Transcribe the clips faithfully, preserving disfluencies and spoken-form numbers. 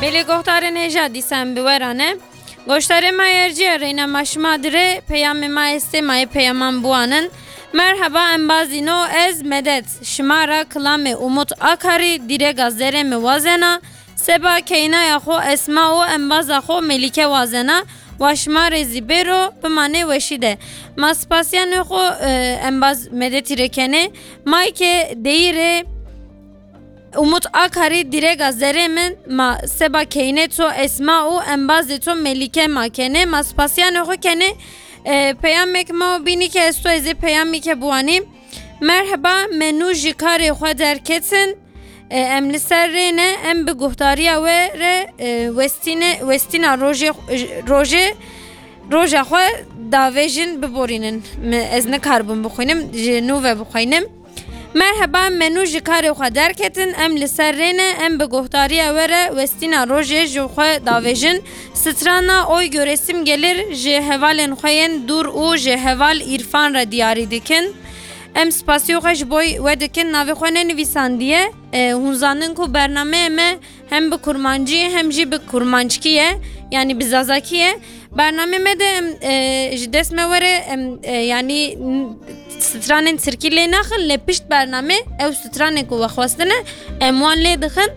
Belê guhdarên hêja dîsa em bi we re ne. Goşdarê me yerciya reyna ma şima dire peyamê ma estê ma yê peyaman biwanin. Merheba embazîno ez Medet. Şima ra kilamê Umut Akarî dîrega zerê mi wazena. Seba keynaya xo Esma û embaza xo Melîke wazena. Wa şima rê zî bêro bimanê weşî de. Ma spasiyanê xo e, embaz Medetî rê kenê. May ke deyî rê Umut Akarî dîrega zerê min ma seba keynê to Esma û embazê to Melîke ma kenê. Ma spasiyanê xo kenê. E, peyamek ma bînî ke esto ez ê peyamî ke biwanî. Merheba, me nû ji karê xwe derketin. E, em li ser rê ne, em bi guhdariya we re e, westîne, westîna rojê, rojê, roja xwe davêjin biborînin. Mi, ez nikaribûm bixwînim, ji nû ve bixwînim. Merheba, me nû ji karê xwe derketin, em li ser rê ne, em bi guhdariya we re westîna rojê ji xwe davêjin. Strana Oy Göresim Gelir ji hevalên xwe yên dûr û ji heval Îrfan re diyarî dikin. Em spasiyê xwe ji bo we dikin, navê xwe nenivîsandiye. E, hûn zanin ku bernameyê me hem bi kurmancî hem jî bi kurmanckî ye, yanî bi zazakî ye. Bernameyê me de em e, ji dest me were em e, yanî n- stranên tirkî lê naxin, lê pişt bername ew stranên ku we xwestine em wan lê dixin.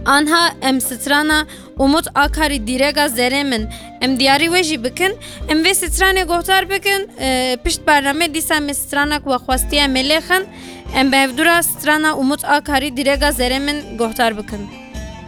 Anha em strana Umut Akarî dîrega zerê min. Em diyarî we jî bikin. Em vê stranê guhdar bikin. E, pişt bername dîsa em strana ku we xwestiye em ê lêxin. Em bi hevdû re strana Umut Akarî dîrega zerê min guhdar bikin.